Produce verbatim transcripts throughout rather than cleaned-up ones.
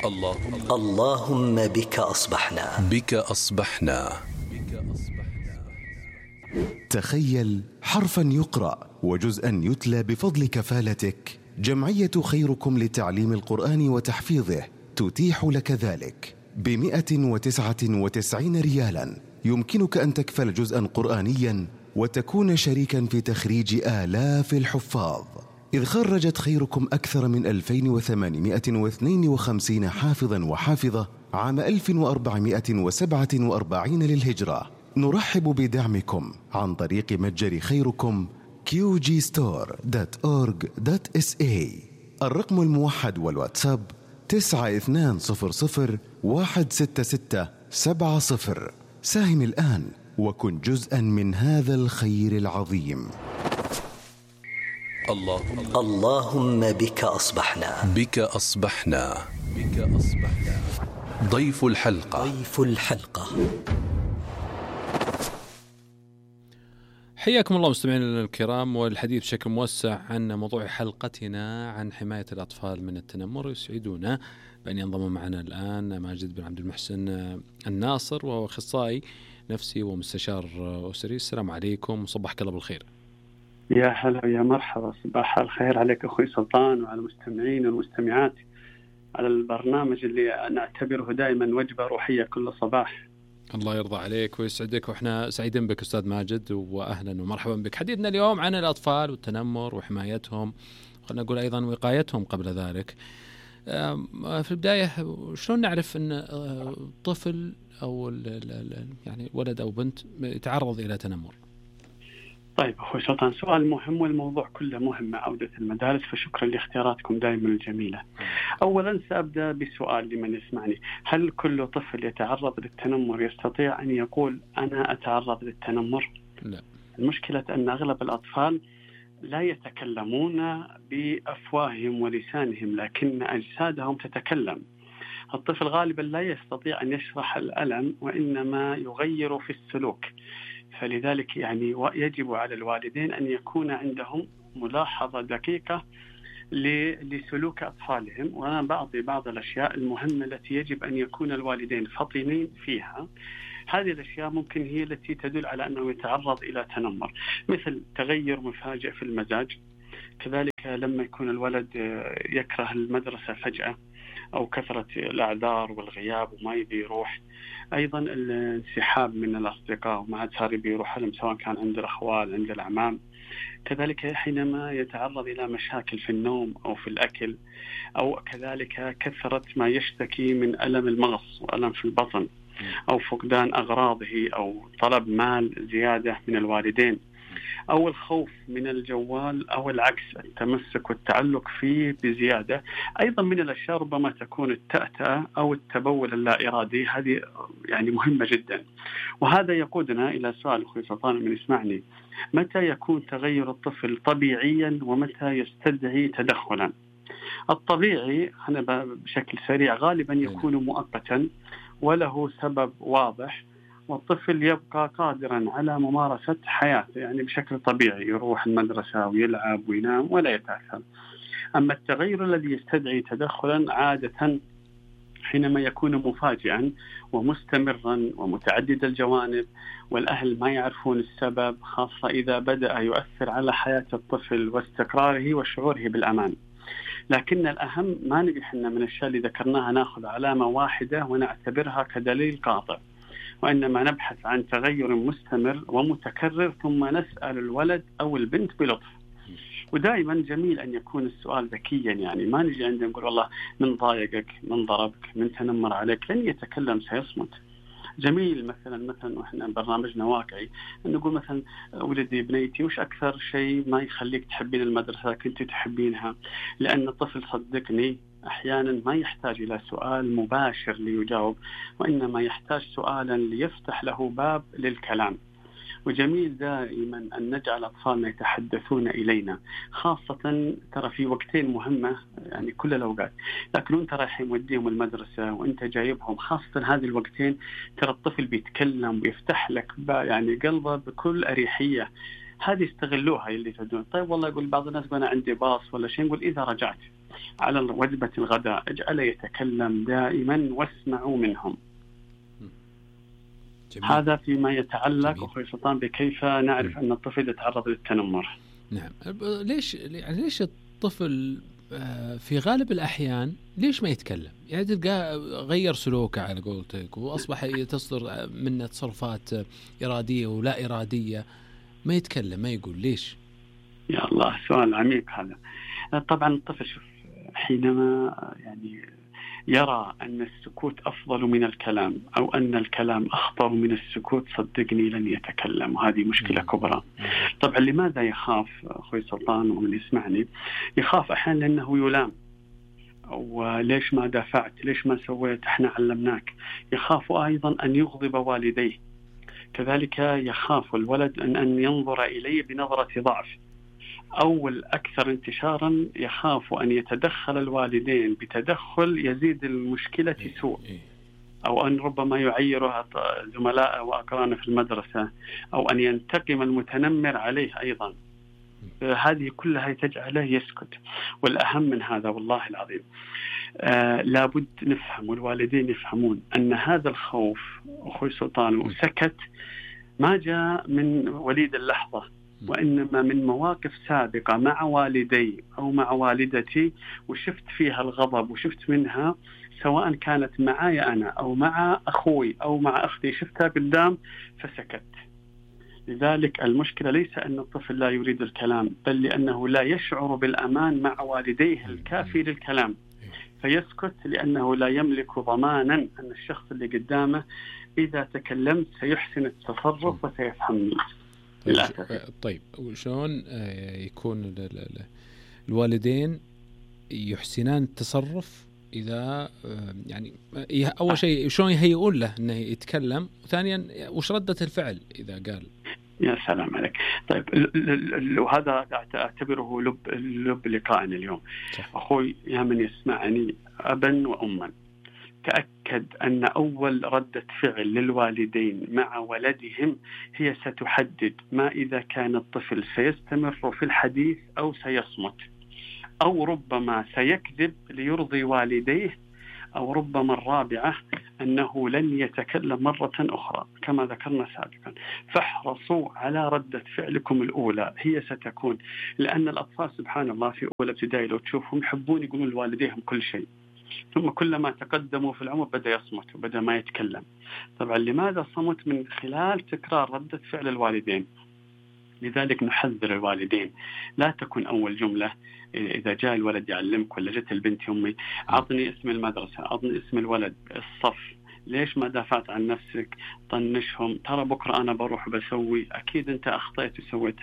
اللهم اللهم بك أصبحنا بك أصبحنا. تخيل حرفا يقرأ وجزءا يتلى بفضل كفالتك. جمعية خيركم لتعليم القرآن وتحفيظه تتيح لك ذلك بمئة وتسعة وتسعين ريالا. يمكنك أن تكفل جزءا قرآنيا وتكون شريكا في تخريج آلاف الحفاظ، إذ خرجت خيركم أكثر من ألفين وثمانمائة واثنين وخمسين حافظا وحافظة عام ألف وأربعمائة وسبعة وأربعين للهجرة. نرحب بدعمكم عن طريق متجر خيركم كيو جي ستور دوت أورج دوت إس إيه. الرقم الموحد والواتساب تسعة اثنان صفر صفر واحد ستة ستة سبعة صفر. ساهم الآن وكن جزءا من هذا الخير العظيم. اللهم اللهم بك أصبحنا بك أصبحنا بك أصبحنا. ضيف الحلقة ضيف الحلقة. حياكم الله مستمعينا الكرام، والحديث بشكل موسع عن موضوع حلقتنا عن حماية الأطفال من التنمر. يسعدنا بأن ينضم معنا الآن ماجد بن عبد المحسن الناصر، وهو أخصائي نفسي ومستشار أسري. السلام عليكم وصبحك الله بالخير. يا هلا يا مرحبا، صباح الخير عليك أخوي سلطان وعلى المستمعين والمستمعات على البرنامج اللي أنا أعتبره دائما وجبة روحية كل صباح. الله يرضى عليك ويسعدك، وإحنا سعيدين بك أستاذ ماجد، وأهلا ومرحبا بك. حديثنا اليوم عن الأطفال والتنمر وحمايتهم، خلنا نقول أيضا وقايتهم قبل ذلك. في البداية شلون نعرف أن طفل أو يعني ولد أو بنت يتعرض إلى تنمر؟ طيب أخوي سلطان، سؤال مهم، والموضوع كله مهم مع عودة المدارس، فشكرا لاختياراتكم دائما الجميلة. أولا سأبدأ بسؤال لمن يسمعني: هل كل طفل يتعرض للتنمر يستطيع أن يقول أنا أتعرض للتنمر؟ لا. المشكلة أن أغلب الأطفال لا يتكلمون بأفواههم ولسانهم، لكن أجسادهم تتكلم. الطفل غالبا لا يستطيع أن يشرح الألم، وإنما يغير في السلوك. فلذلك يعني يجب على الوالدين أن يكون عندهم ملاحظة دقيقة لسلوك أطفالهم. وأنا بعطي بعض الأشياء المهمة التي يجب أن يكون الوالدين فطنين فيها. هذه الأشياء ممكن هي التي تدل على أنه يتعرض إلى تنمر، مثل تغير مفاجئ في المزاج، كذلك لما يكون الولد يكره المدرسة فجأة، أو كثرة الأعذار والغياب وما يبي يروح، أيضا الانسحاب من الأصدقاء وما عاد صار يبي يروح لهم، سواء كان عند الأخوال عند الأعمام، كذلك حينما يتعرض إلى مشاكل في النوم أو في الأكل، أو كذلك كثرة ما يشتكي من ألم المغص وألم في البطن، أو فقدان أغراضه، أو طلب مال زيادة من الوالدين، أو الخوف من الجوال، أو العكس التمسك والتعلق فيه بزيادة. أيضا من الأشياء ربما تكون التأتأة أو التبول اللا إرادي، هذه يعني مهمة جدا. وهذا يقودنا إلى سؤال أخوي سلطان من يسمعني: متى يكون تغير الطفل طبيعيا ومتى يستدعي تدخلا؟ الطبيعي أنا بشكل سريع غالبا يكون مؤقتا وله سبب واضح، والطفل يبقى قادرا على ممارسة حياته يعني بشكل طبيعي، يروح المدرسة ويلعب وينام ولا يتأثر. أما التغير الذي يستدعي تدخلا عادة حينما يكون مفاجئا ومستمرا ومتعدد الجوانب، والأهل ما يعرفون السبب، خاصة إذا بدأ يؤثر على حياة الطفل واستقراره وشعوره بالأمان. لكن الأهم ما نجحنا من الشيء اللي ذكرناها نأخذ علامة واحدة ونعتبرها كدليل قاطع، وإنما نبحث عن تغير مستمر ومتكرر، ثم نسأل الولد أو البنت بلطف. ودائما جميل أن يكون السؤال ذكيا، يعني ما نجي عندنا نقول والله من ضايقك، من ضربك، من تنمر عليك، لن يتكلم سيصمت. جميل مثلا مثلا وإحنا برنامجنا واقعي نقول مثلا: ولدي بنيتي وش أكثر شيء ما يخليك تحبين المدرسة كنت تحبينها؟ لأن الطفل صدقني أحيانا ما يحتاج إلى سؤال مباشر ليجاوب، وإنما يحتاج سؤالا ليفتح له باب للكلام. وجميل دائما أن نجعل أطفالنا يتحدثون إلينا، خاصة ترى في وقتين مهمة يعني كل الأوقات، لكن أنت رايح موديهم المدرسة وأنت جايبهم، خاصة هذه الوقتين ترى الطفل بيتكلم ويفتح لك يعني قلبه بكل أريحية. هذه استغلوها اللي تدون. طيب والله يقول بعض الناس أنا عندي باص ولا شيء، نقول إذا رجعت على وجبة الغداء اجعل يتكلم دائما واسمعوا منهم. جميل. هذا فيما يتعلق أخوي سلطان بكيف نعرف أن الطفل يتعرض للتنمر. نعم. ليش يعني ليش الطفل في غالب الأحيان ليش ما يتكلم؟ يعني تلقى غير سلوكه على قولتك وأصبح تصدر منه تصرفات إرادية ولا إرادية، ما يتكلم ما يقول ليش؟ يا الله سؤال عميق هذا. طبعا الطفل شوف حينما يعني يرى أن السكوت أفضل من الكلام أو أن الكلام أخطر من السكوت صدقني لن يتكلم، وهذه مشكلة كبرى. طبعا لماذا يخاف أخوي سلطان ومن يسمعني؟ يخاف أحيانا لأنه يلام، أو ليش ما دافعت، ليش ما سويت، احنا علمناك. يخاف أيضا أن يغضب والديه، كذلك يخاف الولد أن, أن ينظر إليه بنظرة ضعف، أو الأكثر انتشارا يخاف أن يتدخل الوالدين بتدخل يزيد المشكلة سوء، أو أن ربما يعيرها زملاء وأقرانه في المدرسة، أو أن ينتقم المتنمر عليه أيضا. هذه كلها تجعله يسكت. والأهم من هذا والله العظيم آه لابد نفهم والوالدين يفهمون أن هذا الخوف أخوي سلطان وسكت ما جاء من وليد اللحظة، وإنما من مواقف سابقة مع والدي أو مع والدتي، وشفت فيها الغضب وشفت منها، سواء كانت معي أنا أو مع أخوي أو مع أختي، شفتها قدام فسكت. لذلك المشكلة ليس أن الطفل لا يريد الكلام، بل لأنه لا يشعر بالأمان مع والديه الكافي للكلام، فيسكت لأنه لا يملك ضمانا أن الشخص اللي قدامه إذا تكلمت سيحسن التصرف وسيفهمني. طيب وشون يكون الوالدين يحسنان التصرف إذا يعني أول شيء شلون يهيئون له إنه يتكلم، وثانيا وش ردة الفعل إذا قال؟ يا سلام عليك. طيب وهذا أعتبره لب لب لقائنا اليوم. صح. أخوي يا من يسمعني أبا وأما، تأكد أن أول ردة فعل للوالدين مع ولدهم هي ستحدد ما إذا كان الطفل سيستمر في الحديث أو سيصمت، أو ربما سيكذب ليرضي والديه، أو ربما الرابعة أنه لن يتكلم مرة أخرى كما ذكرنا سابقا. فاحرصوا على ردة فعلكم الأولى، هي ستكون، لأن الأطفال سبحان الله في أول ابتدائي لو تشوفهم يحبون يقولون لوالديهم كل شيء، ثم كلما تقدموا في العمر بدأ يصمت وبدأ ما يتكلم. طبعا لماذا صمت؟ من خلال تكرار ردة فعل الوالدين. لذلك نحذر الوالدين لا تكون أول جملة إذا جاء الولد يعلمك ولا جت البنت يومي عطني اسم المدرسة، عطني اسم الولد، الصف، ليش ما دافعت عن نفسك، طنشهم، ترى بكرة أنا بروح بسوي، أكيد أنت أخطأت وسويت.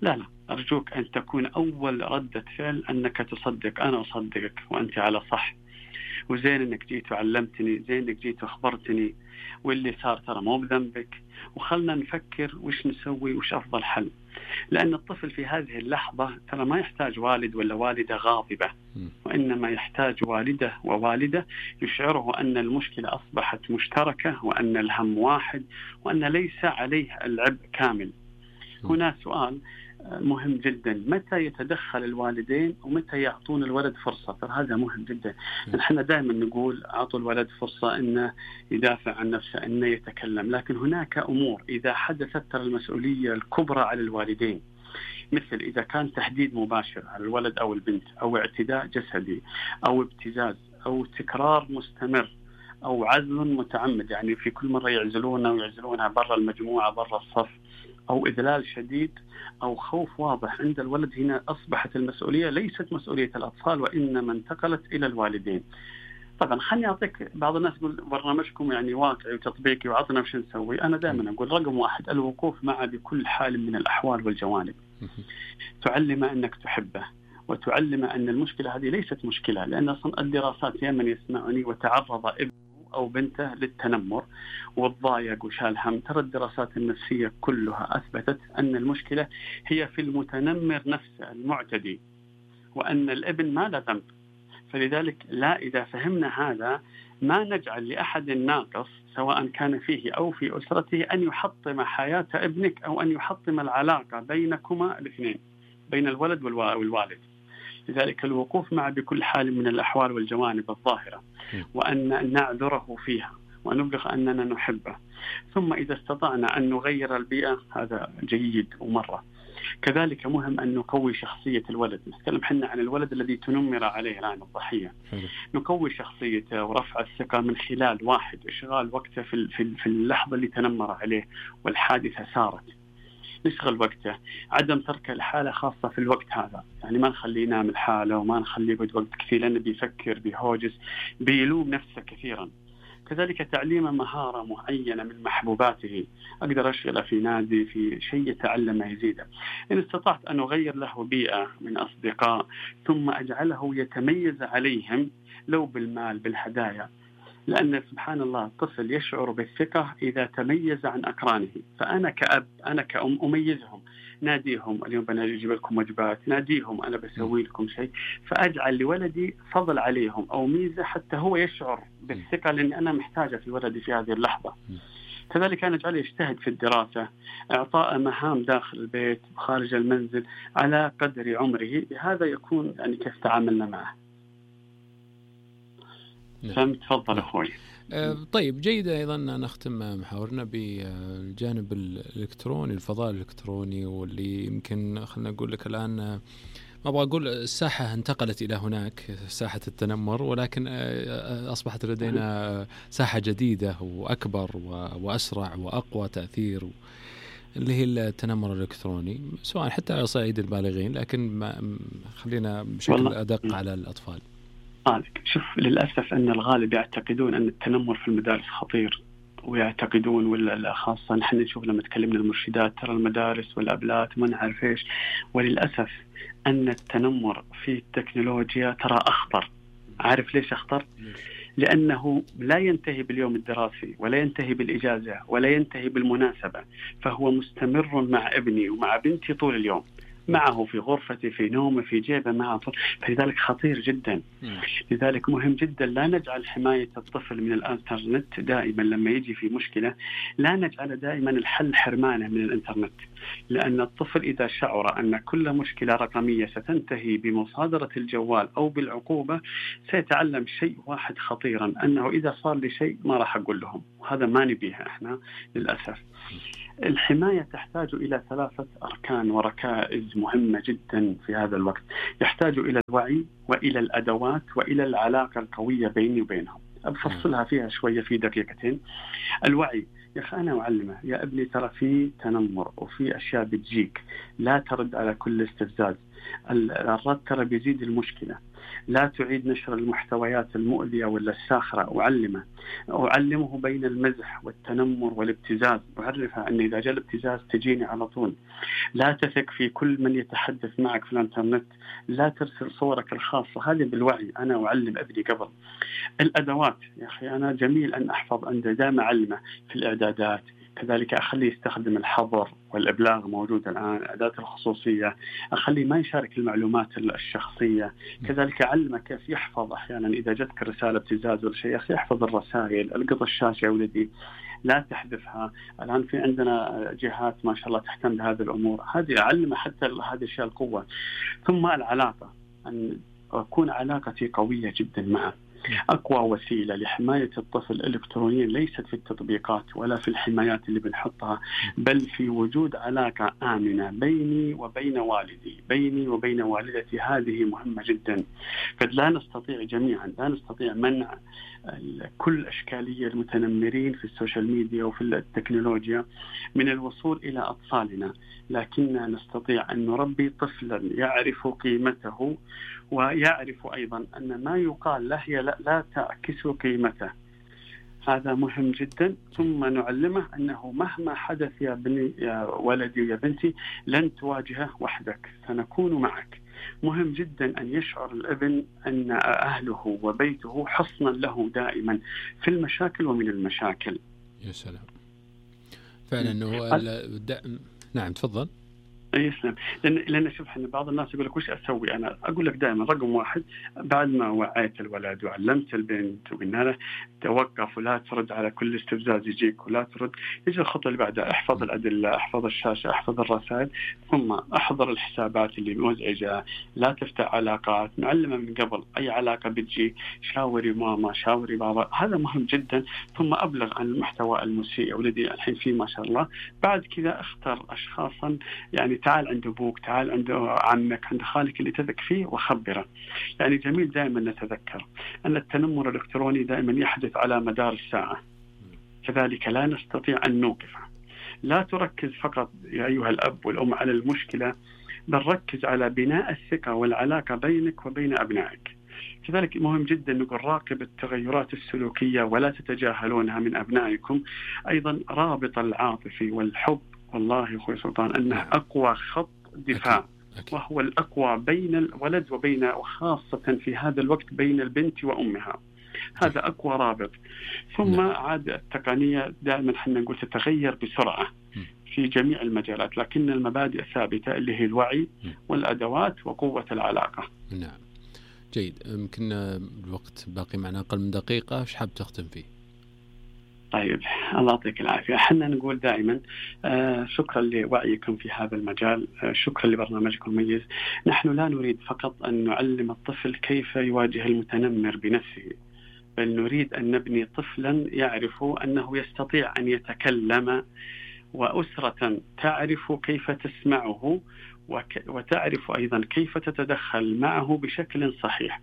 لا لا، أرجوك أن تكون أول ردة فعل أنك تصدق أنا أصدقك وأنت على صح، وزين أنك جيت وعلمتني، زين أنك جيت وأخبرتني، واللي صار ترى مو بذنبك، وخلنا نفكر وش نسوي وش أفضل حل. لأن الطفل في هذه اللحظة ترى ما يحتاج والد ولا والدة غاضبة، وإنما يحتاج والدة ووالدة يشعره أن المشكلة أصبحت مشتركة، وأن الهم واحد، وأن ليس عليه العبء كامل. هنا سؤال مهم جدا، متى يتدخل الوالدين ومتى يعطون الولد فرصة؟ هذا مهم جدا. نحن دائما نقول أعطوا الولد فرصة أنه يدافع عن نفسه، أنه يتكلم، لكن هناك أمور إذا حدثت ترى المسؤولية الكبرى على الوالدين، مثل إذا كان تهديد مباشر على الولد أو البنت، أو اعتداء جسدي، أو ابتزاز، أو تكرار مستمر، أو عزل متعمد، يعني في كل مرة يعزلونه ويعزلونها برا المجموعة برا الصف، أو إذلال شديد، أو خوف واضح عند الولد. هنا أصبحت المسؤولية ليست مسؤولية الأطفال، وإنما انتقلت إلى الوالدين. طبعا خلني أعطيك، بعض الناس يقول برنامجكم يعني واقعي وتطبيقي وعطنا وش نسوي. أنا دائما أقول رقم واحد الوقوف معه بكل حال من الأحوال والجوانب، تعلم أنك تحبه، وتعلم أن المشكلة هذه ليست مشكلة، لأن أصلا الدراسات يا من يسمعني وتعرض ابن أو بنته للتنمر والضايق وشال هم، ترى الدراسات النفسية كلها أثبتت أن المشكلة هي في المتنمر نفسه المعتدي، وأن الابن ما له ذنب. فلذلك لا، إذا فهمنا هذا ما نجعل لأحد ناقص سواء كان فيه أو في أسرته أن يحطم حياة ابنك، أو أن يحطم العلاقة بينكما الاثنين، بين الولد والوالد. لذلك الوقوف معه بكل حال من الأحوال والجوانب الظاهرة، وأن نعذره فيها ونبلغ أننا نحبه. ثم إذا استطعنا أن نغير البيئة هذا جيد ومرة. كذلك مهم أن نقوي شخصية الولد. نتكلم حنا عن الولد الذي تنمر عليه الآن الضحية. نقوي شخصيته ورفع الثقة من خلال واحد إشغال وقته في في اللحظة اللي تنمر عليه والحادثة صارت، نشغل وقته، عدم ترك الحالة خاصة في الوقت هذا، يعني ما نخليه ينام الحالة وما نخليه يقعد وقت كثير لأنه بيفكر بيهوجس بيلوم نفسه كثيرا. كذلك تعليم مهارة معينة من محبوباته، أقدر أشغله في نادي في شيء يتعلم يزيده. إن استطعت أن أغير له بيئة من أصدقاء ثم أجعله يتميز عليهم لو بالمال بالهدايا، لأن سبحان الله الطفل يشعر بالثقة إذا تميز عن أقرانه. فأنا كأب أنا كأم أميزهم، ناديهم اليوم بنجيب لكم وجبات، ناديهم أنا بسوي لكم شيء، فأجعل لولدي فضل عليهم أو ميزة حتى هو يشعر بالثقة لأني أنا محتاجة في ولدي في هذه اللحظة. كذلك أنا أجعله يجتهد في الدراسة، إعطاء مهام داخل البيت وخارج المنزل على قدر عمره، هذا يكون يعني كيف تعاملنا معه. فهمت؟ تفضل أخوي. طيب جيد. أيضا نختم محاورنا بالجانب الإلكتروني، الفضاء الإلكتروني، واللي يمكن خلنا نقول لك الآن ما أبغى أقول الساحة انتقلت إلى هناك ساحة التنمر، ولكن أصبحت لدينا ساحة جديدة وأكبر وأسرع وأقوى تأثير اللي هي التنمر الإلكتروني، سواء حتى على صعيد البالغين، لكن ما خلينا بشكل أدق على الأطفال. آلك. شوف للأسف أن الغالب يعتقدون أن التنمر في المدارس خطير، ويعتقدون ولا خاصة نحن نشوف لما تكلمنا المرشدات ترى المدارس والأبلات ما نعرف إيش، وللأسف أن التنمر في التكنولوجيا ترى أخطر. عارف ليش أخطر؟ لأنه لا ينتهي باليوم الدراسي ولا ينتهي بالإجازة ولا ينتهي بالمناسبة، فهو مستمر مع ابني ومع بنتي طول اليوم، معه في غرفتي في نومه في جيبه معه، فلذلك خطير جدا. لذلك مهم جدا لا نجعل حماية الطفل من الانترنت دائما لما يجي في مشكلة، لا نجعل دائما الحل حرمانه من الانترنت، لأن الطفل إذا شعر أن كل مشكلة رقمية ستنتهي بمصادرة الجوال أو بالعقوبة سيتعلم شيء واحد خطيرا، أنه إذا صار لي شيء ما راح أقول لهم، وهذا ما نبيها إحنا للأسف. الحماية تحتاج إلى ثلاثة أركان وركائز مهمة جدا في هذا الوقت، يحتاج إلى الوعي وإلى الأدوات وإلى العلاقة القوية بيني وبينهم. أبفصلها فيها شوية في دقيقتين. الوعي، يا أخي أنا أعلمه يا ابني ترى في تنمر وفي أشياء بتجيك، لا ترد على كل استفزاز، الرد ترى بيزيد المشكلة، لا تعيد نشر المحتويات المؤذية ولا الساخرة. أعلمه أعلمه بين المزح والتنمر والابتزاز، أعرفها أن إذا جاء الابتزاز تجيني على طول، لا تثق في كل من يتحدث معك في الانترنت، لا ترسل صورك الخاصة، هذه بالوعي. أنا أعلم ابني قبل. الأدوات، يا أخي أنا جميل أن أحفظ عنده، دائما أعلمه في الإعدادات، كذلك أخليه يستخدم الحظر والإبلاغ موجود الآن، أداة الخصوصية، أخليه ما يشارك المعلومات الشخصية، كذلك أعلمه كيف يحفظ أحيانا إذا جتك رسالة ابتزاز ولا شيء، أخي يحفظ الرسائل، القط الشاشة يا ولدي لا تحذفها. الآن في عندنا جهات ما شاء الله تهتم بهذه الأمور، هذه أعلمه حتى هذه الأشياء القوة. ثم العلاقة، أن أكون علاقتي قوية جدا معه. أقوى وسيلة لحماية الطفل إلكترونيا ليست في التطبيقات ولا في الحمايات اللي بنحطها، بل في وجود علاقة آمنة بيني وبين والدي، بيني وبين والدتي، هذه مهمة جدا. فلا نستطيع جميعا لا نستطيع منع كل أشكالية المتنمرين في السوشيال ميديا وفي التكنولوجيا من الوصول إلى أطفالنا، لكننا نستطيع أن نربي طفلا يعرف قيمته ويعرف أيضا أن ما يقال له لا, لا تعكس قيمته، هذا مهم جدا. ثم نعلمه أنه مهما حدث يا بني يا ولدي يا بنتي لن تواجهه وحدك، سنكون معك. مهم جدا أن يشعر الابن أن أهله وبيته حصنا له دائما في المشاكل ومن المشاكل. يا سلام، فعلا. هو الد... نعم تفضل. يسلم. لأن لأن شوف إحنا بعض الناس يقول لك وش أسوي أنا؟ أقول لك دائما رقم واحد، بعد ما وعيت الولد وعلمت البنت وقلنا له توقف ولا ترد على كل استفزاز يجيك ولا ترد، يجي الخطوة اللي بعدها احفظ الأدلة، احفظ الشاشة، احفظ الرسائل، ثم احضر الحسابات اللي مزعجة، لا تفتح علاقات، نعلمه من قبل أي علاقة بتجي شاوري ماما شاوري بابا، هذا مهم جدا. ثم أبلغ عن المحتوى المسيء، ولدي الحين فيه ما شاء الله. بعد كذا اختر أشخاصا، يعني تعال عند أبوك، تعال عند عمك، عند خالك اللي تثق فيه وخبره. يعني جميل دائما نتذكر أن التنمر الإلكتروني دائما يحدث على مدار الساعة، كذلك لا نستطيع أن نوقفه. لا تركز فقط يا أيها الأب والأم على المشكلة، بل ركز على بناء الثقة والعلاقة بينك وبين أبنائك. كذلك مهم جدا نقول راقب التغيرات السلوكية ولا تتجاهلونها من أبنائكم. أيضا رابط العاطفي والحب، والله يا أخوي سلطان أنه أقوى خط دفاع، وهو الأقوى بين الولد وبين، وخاصة في هذا الوقت بين البنت وأمها، هذا أقوى رابط. ثم عاد التقنية دائما حنا نقول تتغير بسرعة في جميع المجالات، لكن المبادئ ثابتة اللي هي الوعي والأدوات وقوة العلاقة. نعم جيد. يمكن الوقت باقي معنا أقل من دقيقة، ايش حاب تختم فيه؟ طيب الله يعطيك العافية. حنا نقول دائما آه شكرا لوعيكم في هذا المجال، آه شكرا لبرنامجكم المميز. نحن لا نريد فقط أن نعلم الطفل كيف يواجه المتنمر بنفسه، بل نريد أن نبني طفلا يعرف أنه يستطيع أن يتكلم، وأسرة تعرف كيف تسمعه وتعرف أيضا كيف تتدخل معه بشكل صحيح.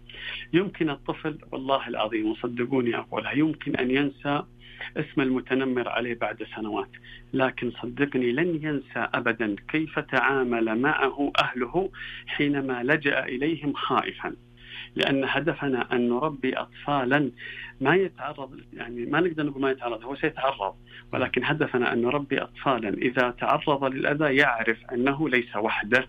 يمكن الطفل والله العظيم وصدقوني أقولها يمكن أن ينسى اسم المتنمر عليه بعد سنوات، لكن صدقني لن ينسى أبدا كيف تعامل معه أهله حينما لجأ إليهم خائفا. لأن هدفنا أن نربي أطفالا ما يتعرض، يعني ما نقدر نقول ما يتعرض، هو سيتعرض، ولكن هدفنا أن نربي أطفالا إذا تعرض للأذى يعرف أنه ليس وحده.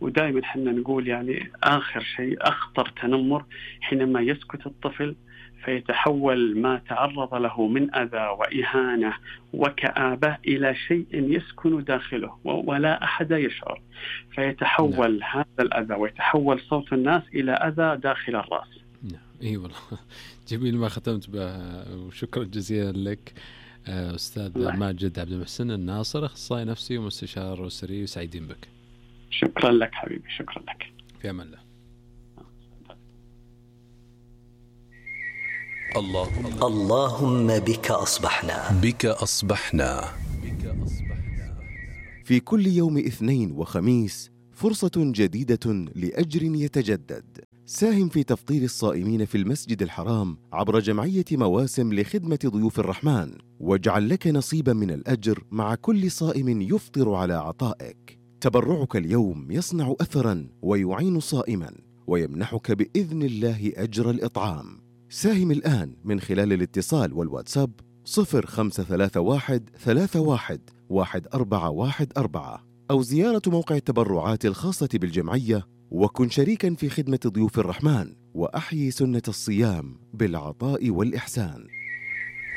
ودائما حنا نقول يعني آخر شيء أخطر تنمر حينما يسكت الطفل فيتحول ما تعرض له من أذى وإهانة وكآبة إلى شيء يسكن داخله ولا أحد يشعر، فيتحول نعم. هذا الأذى ويتحول صوت الناس إلى أذى داخل الرأس. نعم إيه والله جميل ما ختمت به، وشكرا جزيلا لك أستاذ الله. ماجد عبد المحسن الناصر، أخصائي نفسي ومستشار أسري، وسعيدين بك. شكرا لك حبيبي، شكرا لك. في أمان الله. اللهم اللهم بك أصبحنا بك أصبحنا في كل يوم اثنين وخميس فرصة جديدة لأجر يتجدد. ساهم في تفطير الصائمين في المسجد الحرام عبر جمعية مواسم لخدمة ضيوف الرحمن، واجعل لك نصيبا من الأجر مع كل صائم يفطر على عطائك. تبرعك اليوم يصنع أثرا ويعين صائما ويمنحك بإذن الله أجر الإطعام. ساهم الآن من خلال الاتصال والواتساب صفر خمسة ثلاثة واحد ثلاثة واحد واحد أربعة واحد أربعة، أو زيارة موقع التبرعات الخاصة بالجمعية، وكن شريكا في خدمة ضيوف الرحمن وأحيي سنة الصيام بالعطاء والإحسان.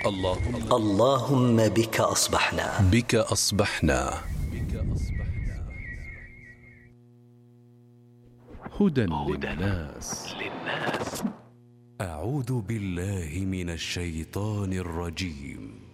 اللهم اللهم بك أصبحنا بك أصبحنا هدى للناس. أعوذ بالله من الشيطان الرجيم.